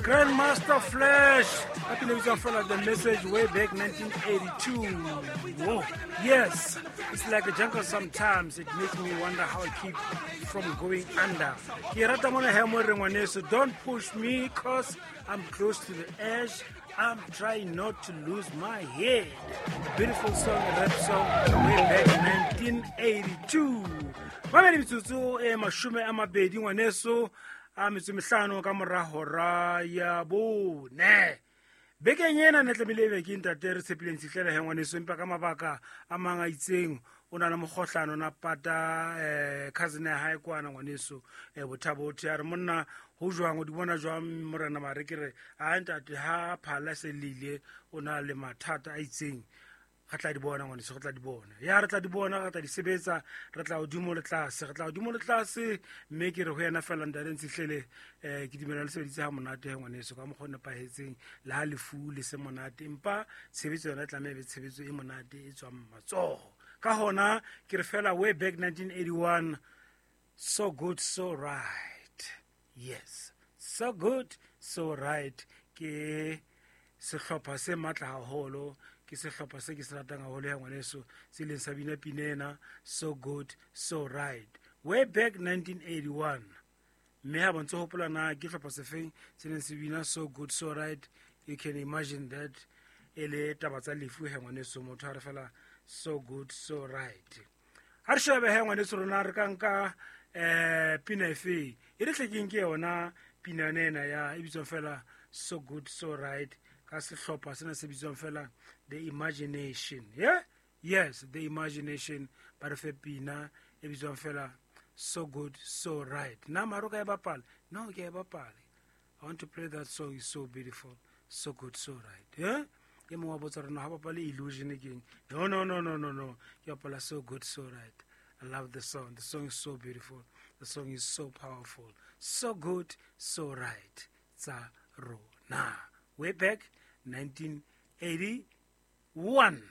Grandmaster Flash ka pina e bitswang fela The Message, way back 1982. Whoa. Yes, it's like a jungle sometimes. It makes me wonder how I keep from going under. Ke rata mona he mo re, ngwaneso, don't push me 'cause I'm close to the edge. I'm trying not to lose my head. A beautiful song, a rap song, way back 1982. Mamedi, metsotso e 20, ngwaneso, a metso mehlano ka mora hora ya 4. Bekeng ena ne tlamehile ebe ke ntate re tshepileng Tshihlela he, ngwaneso, empa ka mabaka a mang a itseng o na le mokgohlano na pata cousin ya hae kwana, ngwaneso, Bothabothe. A re, monna, ho jwang, o di bona jwang, morena? Mare ke re a ntate ha phala se lile, o na le mathata a itseng. Re tla di bona, ngwaneso, re tla di bona. Ya, re tla di bona, re tla di sebetsa, re tla hodimo le tlase, re tla hodimo le tlase. Mme ke re ho yena fela, ntate Ntshihlele, ke dumela le sebeditse ha monate he, ngwaneso, ka mokgwa o nepahetseng. Le ha lefu le se monate, empa tshebetso yona e tlameha e be tshebetso e monate e tswang matsoho. Ka hona ke re fela, way back 1981, So Good So Right. Yes, So Good So Right ke sehlopha se matla haholo, ke sehlopha se ke se ratang haholo ya, ngwaneso, se leng sa bina pina ena, So Good So Right, way back 1981. Mme ha bontse hopola na ke hlopha sefeng se neng se bina So Good So Right, you can imagine that e le taba tsa lefu he, ngwaneso, motho a re fela so good so right. Ha re shebe he, ngwaneso, rona re ka nka pina efe e re tlekeng ke yona pina yone ena ya e bitswang fela So Good So Right ka sehlopha sena se bitswang fela The Imagination. Yeah, yes, The Imagination ba re fe pina e bitswang fela So Good So Right. Na maro ka e bapala? No, ke e bapale. I want to play that song, is so beautiful. So Good So Right. Yeah, e mongwe wa botsa rona ga bapale Illusion keng. No, no, no, no, no, no, ke bapala So Good So Right. I love the song. The song is so beautiful. The song is so powerful. So Good So Right tsa rona, way back 1981.